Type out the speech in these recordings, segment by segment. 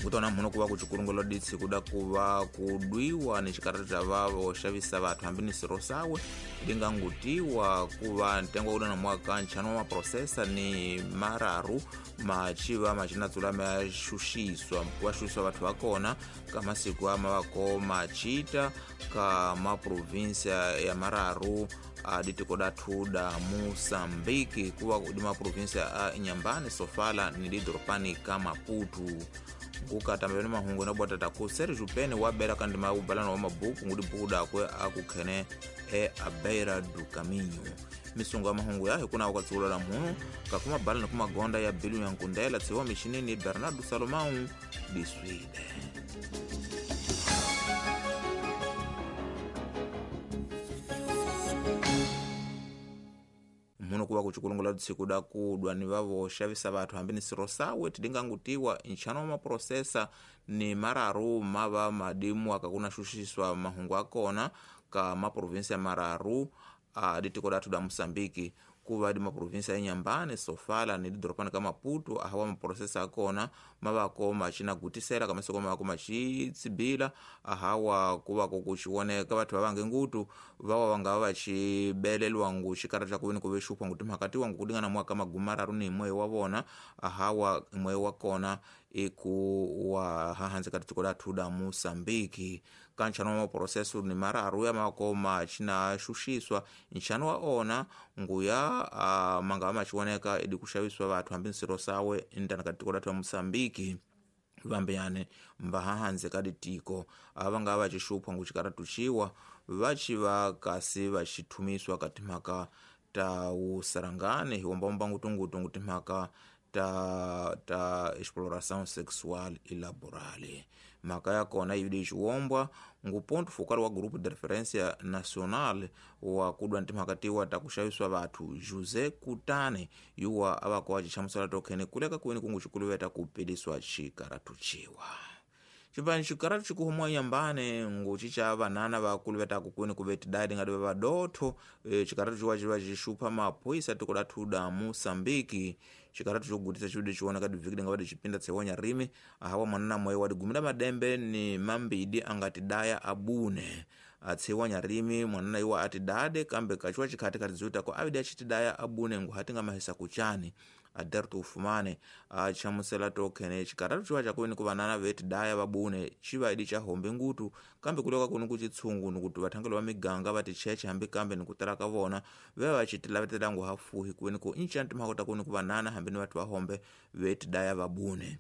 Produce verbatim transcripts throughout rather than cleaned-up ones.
Ngutona mhuno kuva kuchikurungelo ditsi kuda kuva kudwiwa ni xikarata xa vavo xavisa vathu hambi ni siro sawe lingangutiwa kuva ntengo wa na mwaka ntlhanu wa maprosesa ni mararu machiva machinatsula ma xuxiswa wa xuxiswa vathu va kona ka masiku ama vako machita ka maprovinsia ya mararu a ditiko dathu da Moçambique kuva di maprovinsia a Inhambane, Sofala ni didoropani ka Maputo. Kukatamba ni mahungu na bwatata ku Sergio Pene wa bera kandi maubalano wa mabuku ngudi buku dakwe akukhene e a beira do caminho. Misungo ya mahungu yahe kuna wakatsulo la mhunu kakuma bala na kumagonda ya bilu ya nkundela tsiwa mishinini Bernardo Salomão Biswide. Mhuno kuva kuchikulungula tsiku da kudwa ni vavo xavisa vathu hambi ni siro sawe tidingangutiwa nxano wa maprosesa ni mararu mava madimu akakuna xuxiswa mahungu akona ka maprovinsia ya mararu a ditiko dathu da Moçambique kuva di maprovinsia ya Inhambane, Sofala ni didoropani ka Maputo ahawa maprosesa akona mavako machinagutisela kamasoko mavako machitsibila ahawa kuvako kuchioneka vathu vavange ngutu vawa vangava vachibelelwa ngu xikarata kuveni kuve xuphwa ngu timhaka tiwa ngu kudingana mwaka magumi mararu ni imwe wa vona ahawa imwe wa kona iku wa hahanze ka tiko dathu da Moçambique. Kanchano wa maproseso ni mararu ya mavako machina xuxiswa nxano wa ona nguya uh, mangava machioneka idi kuxaviswa vathu hambi nsiro sawe intana ka tiko dathu ya Moçambique vambeyane mbahahanze ka ditiko ava nga vachixuphwa ngu xikaratu xiwa vachiva kasi vachithumiswa ka timhaka ta wusarangane hi wombawomba ngutungutu ngu timhaka ta ta exploração sexual e laboral. Mhaka ya kona yi xiwombwa ngu ponto focal wa grupo de referência nacional wa kudwa timhaka tiwa ta kuxaviswa vathu José Kutane yuwa avako wa xihlamusela tokhene kuleka kweni kungu xikuluveta ku piliswa xikaratu xiwa. Xipani xikaratu xikuhumwa Inhambane ngu cica vanana va kuluvetaku kwini kuve tidadi ngati va vadotho e, xikaratu xiwa xiva xixupha maphoyisa tiko lathu da Moçambique. Xikaratu xo gutisa xividi xioneka divhiki dinga va dixipinda tsewanya rimi ahawa mwanana moyo wa digumila madembe ni mambidi angati daya abune atsewanya rimi mwanana iwa ati dade kambe kachiwa chikhati kati ziutako avidi achitidaya abune ngu hatinga mahisa kuchani. Aderto Ufumane achamusela tokhene xikaratu xiwa xakuveni ku vanana vetidaya vabune xiva idi xa hombe ngutu kambe kuleka kuni kuchitshungu nikuti vathangelo va miganga va ticheche hambi kambe nikutala ka vona veva va xitilavetela ngu hafuhi kuveni ku incani timhaka ta kuni ku vanana hambi ni vathu va hombe vetidaya vabune.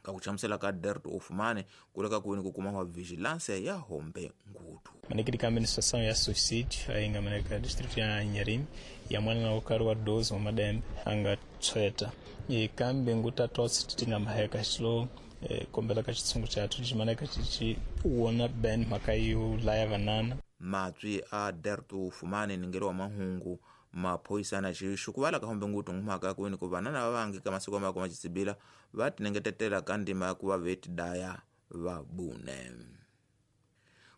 Ka kuchamusela ka Aderto Ufumane kuleka kuni kukuma wa vigilância ya hombe ngutu. Manekiri ka administração ya suicídio ainga maneka distrito ya Inharime ya mwana na ukaru wa doze wa madembe anga tsweta e kambe nguta tosi titinga maheka xilo e, kombela ka xitshungu xathu ximaneka xichi wona ben mhaka yo laya vanana. Matswi a Aderto Ufumane ningelo wa mahungu maphoyisa na xixu kuvala ka hombe ngutu ngumhaka kweni ku vanana va vangi ka masiku mako macitsibila va tinengetetela ka ndima ya ku va vetidaya vabune.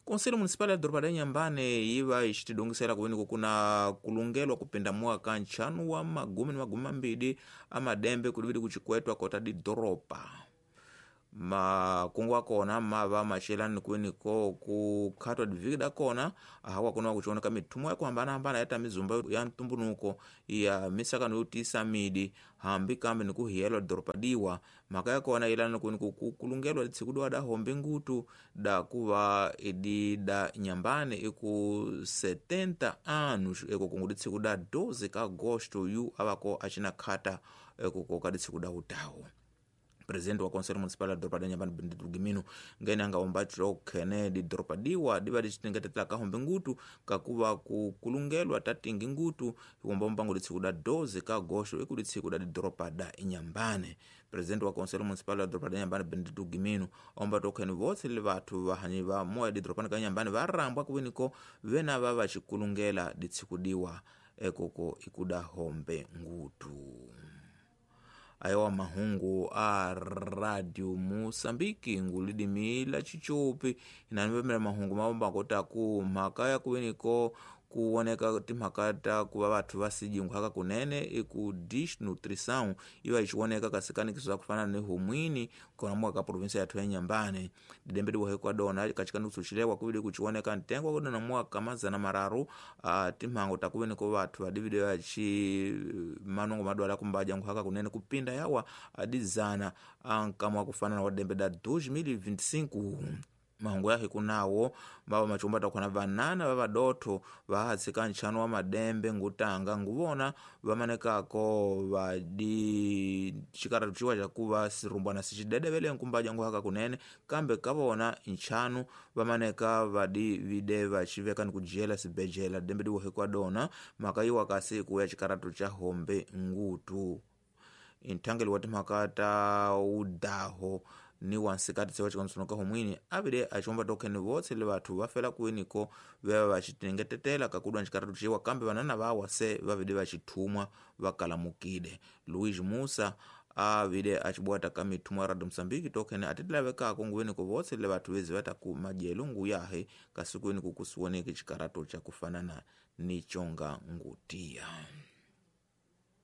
Conselho Municipal ya doroba la Inhambane yi va yi xitidongisela kuveni ku kuna kulungelwa kupinda mwaka ntlhanu wa magumi ni magumi mambili a madembe kulivili kuchikwetwa kota didoropa. Makungu akona mava machelani kweni ko kukhatwa diviki dakona ahawa kuna kuchioneka mithumo ya kuhambanahambana ya mizumba ya ntumbunuko ya misakano yotisa midi hambi kambe nikuhiyelwa doropa diwa. Mhaka ya kona ilani kweni kukulungelwa litsiku diwa da hombe ngutu da kuva idi da Inhambane iku setenta anos eko kungu litsiku da doze ka agosto yu avako achina khata eko koka litsiku da utawu. Presidente wa Conselho Municipal da doropa da Inhambane Benedito Gimino ngene anga ombatro khene di doropa diwa diva dichitingetetela ka hombe ngutu kakuva kukulungelwa tatingi ngutu hikomba mpango litsiku da doze ka agosto iku litsiku da doropa da Inhambane. Presidente wa Conselho Municipal da doropa da Inhambane Benedito Gimino ombatro khene votse le vathu vahanyi va moya di doropa ka Inhambane va rambwa kuveniko vena va va xikulungela ditsiku diwa ekoko ikuda hombe ngutu. Ayowa mahungu a Radio Moçambique ngulidimi la chichopi inanivemela mahungu mabomba kota ku mhaka ya kuveniko Kuoneka timhaka ta ku va vathu va sijinghwaka kunene i ku desnutrição iva ichioneka kasikanikiso za kufana ni humwini kona mwaka provinsia yathu ya Nyambane. Didembe diwa hekwa dona kachikanikiso chilewa kuvili kuchioneka ntengo kudona mwaka mazana mararu uh, timhango takuveni ko vathu vadividio yachi manongo madwala kumbaja nkhwaka kunene kupinda yawa adizana ankamwa kufanana wa dembe da dois mil e vinte e cinco. Mahungu yahe kunawo baba machumba takhona vanana vavadotho vahatsika ntchano wa madembe ngutanga nguvona vamanekako vadi chikaratu chiwa chakuva sirumbwana sichidedevele nkumbaja nguhaka kunene kambe kavona ntchanu vamaneka vadi vide vachiveka ni kujela sibejela dembe diwohekwa dona makaiwa kasi kuya chikaratu cha hombe ngutu. Inthangeli wa timhaka ta udaho ni wansikati sewa chikonsonoka humwini avile achiomba tokheni votse le vathu vafela kuweniko veva vachitengetetela kakudwa ncikaratu ciwa kambe vanana vawa se vavide vachithumwa vakalamukile. Luiz Musa avile achibwata ka mithumwa ya Radio Msambiki tokheni atitilavekako nguweniko votse le vathu vezi vataku majelo nguyahe kasikuweni kukusiwoneke chikaratu cha kufanana ni chonga ngutiya.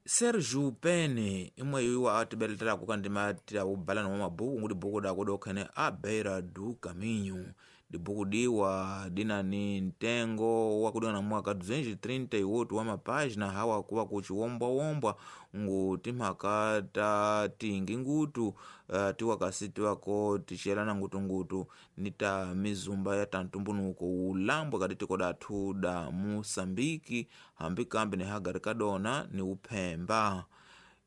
Sergio Pene imwe iwa atibeletelako kandima tira ubalana wa mabuku ngudi buku dako dokhene a beira do caminho. Dibuku diwa dina ni ntengo wakudona mwaka duzentos e trinta e oito wa mapágina hawa kuwa kuchiwombwawombwa ngu timhaka ta tingi ngutu uh, tiwa kasi tiwako tichelana ngutungutu ni ta mizumba ya tantumbunuko ulambwe kati tiko dathu da Moçambique hambi kambi ni hagari kadona ni uphemba.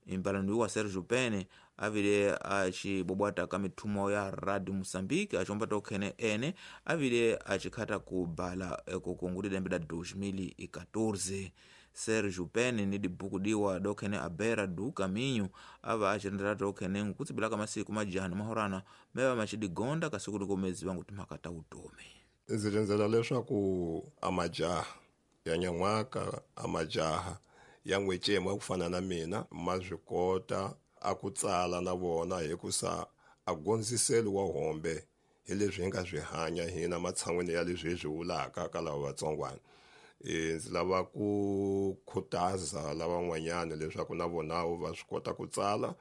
Imbalano wa Sergio Pene avile achibobwata ka mithumo ya Radio Mozambique achomba tokhene ene avile achikhata kubala ekukungulira dembe da dois mil e catorze. Sergio Pene ni dibuku diwa dokhene a beira do caminho ava achirendera tokhene nkutsibila ka masiku majano mahorana meva machidigonda kasiku likomezi vangu timhaka ta utomi. Ndzi rindzela leswaku a majaha ya nyan'waka a majaha ya n'wecema ku fana na mina ma swi kota a ku tsala na vona hikusa a gondziseli wa hombe hi leswi hi nga swi hanya hina matshan'wini ya leswi hi swi vulaka ka lava vatsongwana. E ndzi lava ku khutaza lavan'wanyana leswaku na vona va swi kota ku tsala.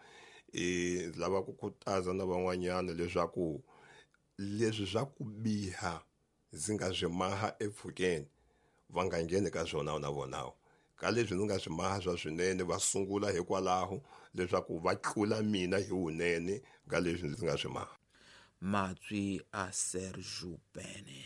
E ndzi lava ku khutaza na van'wanyana leswaku leswi swa ku biha ndzi nga swi maha epfhukeni va nga ngheni ka swona na vona. Ka leswi ndzi nga swi maha swa swinene va sungula hikwalaho leswaku va tlula mina hi wunene ka leswi ndzi nga swi maha. Matswi a Sergio Pene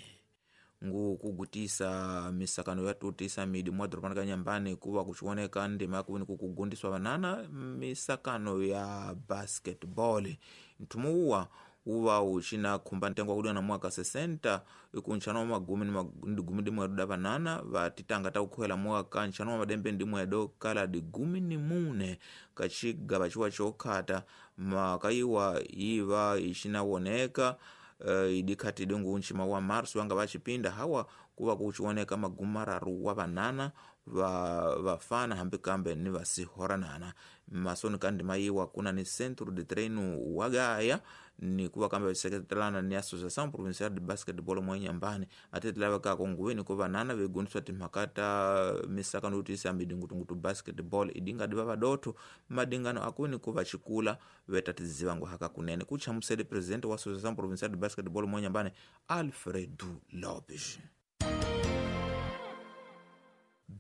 ngu kugutisa misakano ya tutisa midi mwa dorobani ka Nyambane kuva kuchioneka ndima ya kuveni kukugundiswa vanana misakano ya basketball. Nthumu uwa uva uchina khumba ntengo wa na mwaka sessenta ikunchano wa magumi ni digumi dimwedo da vanana vatitanga ta kukhwela mwaka nchano wa madembe ndimwedo kala digumi ni mune kachigava chiwa chokhata makaiwa iva ichinawoneka uh, idikhati dingu nchima wa marso wanga vachipinda hawa kuva kuchioneka magumi mararu wa vanana va vafana hambi kambe ni vasihoranana. Masoni kandi mayiwa kuna ni centro de treino wagaya ni kuva kambe vachiseketelana ni Associação Provincial de Basketball mwa Nyambane atitilavekako nguweni ko vanana vegundiswa timhaka ta misakano yotiyisa midingutungutu basketball idingadi va vadotho madingano akweni ko vachikula vetatiziva nguhaka kunene. Kuchamusele presidente wa Associação Provincial de Basketball mwa Nyambane Alfredo Lopes.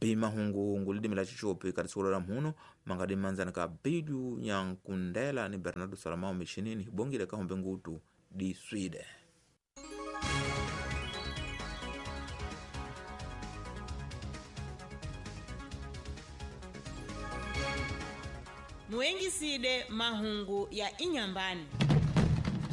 Bimahungu lidimi la chichopi katisolo la mhuno mangadi manzana ka Bidu Nyankundela ni Bernardo Salamao michinini bongile ka hombe ngutu di Swede. Muengiside mahungu ya Inyambani.